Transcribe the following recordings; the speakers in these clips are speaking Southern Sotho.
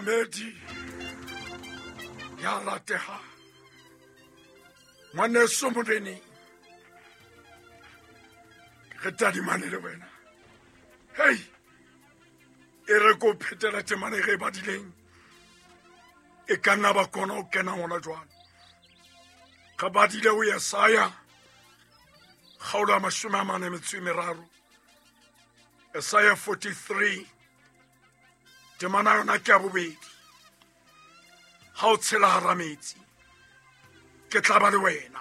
Momamedi ya ratehang, ngwaneso moreneng, re tadimane le wena. Hei, e re ko phetela temane re e badileng, e ka nna ba kona ho kena hona jwale. Re badile ho Yesaya kgaolo ya 43, Isaiah 43, temana yona ke ya bobedi. Ha o tshela hara metsi, ke tla ba le wena.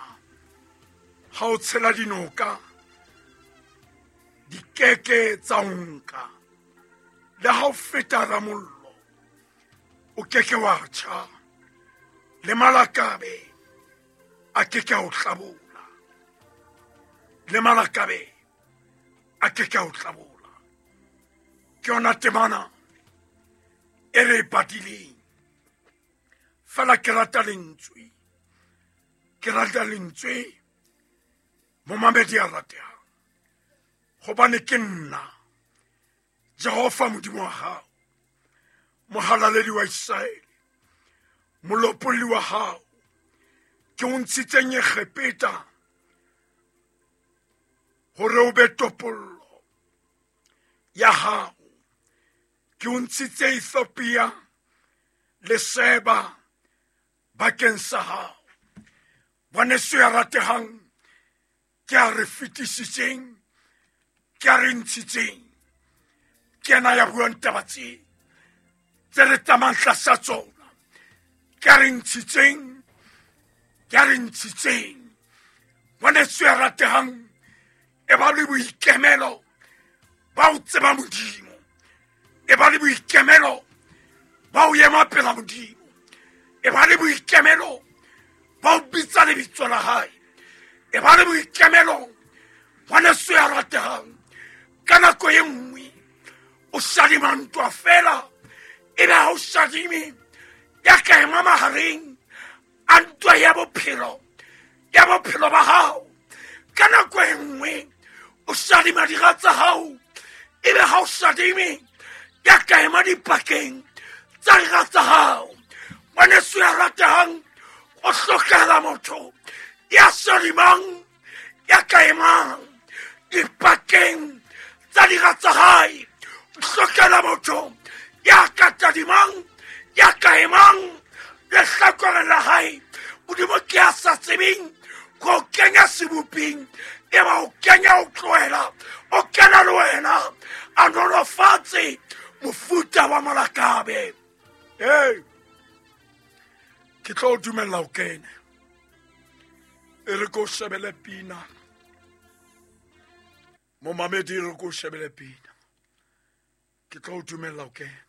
Ha o tshela dinoka, di keke tsa o nka. Le ha o feta hara mollo, o keke wa tjha. Le malakabe a keke a o hlabola. Le malakabe a keke a o hlabola. Ke yona temana e re e badileng. Fela ke rata lentswe, ke rata lentswe momamedi a ratehang, gobane ke nna Jehova Modimo wa hao, mohalaledi wa Israele, molopolli wa hao, ke o ntshitseng Egepeta hore o be topollo ya hao. Ke o ntshitse Ethiopia le Seba bakeng sa hao. Ngwaneso ya ratehang, ke a re fetisitseng, ke a re ntshitseng, ke yena ya buang taba tse tse re tsamayang tlasa tsona. Ke a re ntshitseng, ke a re ntshitseng. Ngwaneso ya ratehang, e ba le boikemelo ba o tseba Modimo, e ba le boikemelo ba o ema pela Modimo, e ba le boikemelo ba o bitsa lebitso la hae, e ba le boikemelo. Ngwaneso ya ratehang, ka nako e nngwe o shadima ntwa fela, e be ha o shadime ya ka ema mahareng a ntwa ya bophelo, ya bophelo ba hao. Ka nako e nngwe o shadima dira tsa hao, e be ha o shadime ya ka ema dipakeng tsa dira tsa hao. Ngwaneso ya ratehang, o hlokahala motho ya shadimang, ya ka emang dipakeng tsa dira tsa hae. O hlokahala motho ya ka tadimang, ya ka emang lehlakoreng la hae. Modimo ke a sa tsebeng go kenya seboping, e ba o kenya o tlohela, o kena le wena, a nolofatse mofuta wa molakabe. Hey, ke tlo o dumella o kene. E re ko shebele pina, momamedi, e re ko shebele pina. Ke tlo o dumella o kene.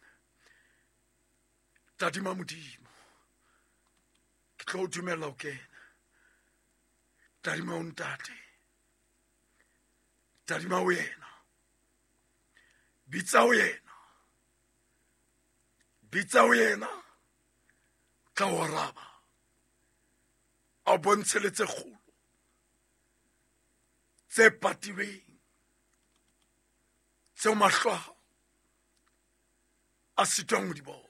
Tadima Modimo, ke tlo o dumella o kene. Tadima o ntate, tadima o yena, bitsa o yena, bitsa o yena, tla o araba, a bontshe le tse kgolo tse patilweng, tseo mahlo a hao a sitwang ho di bona.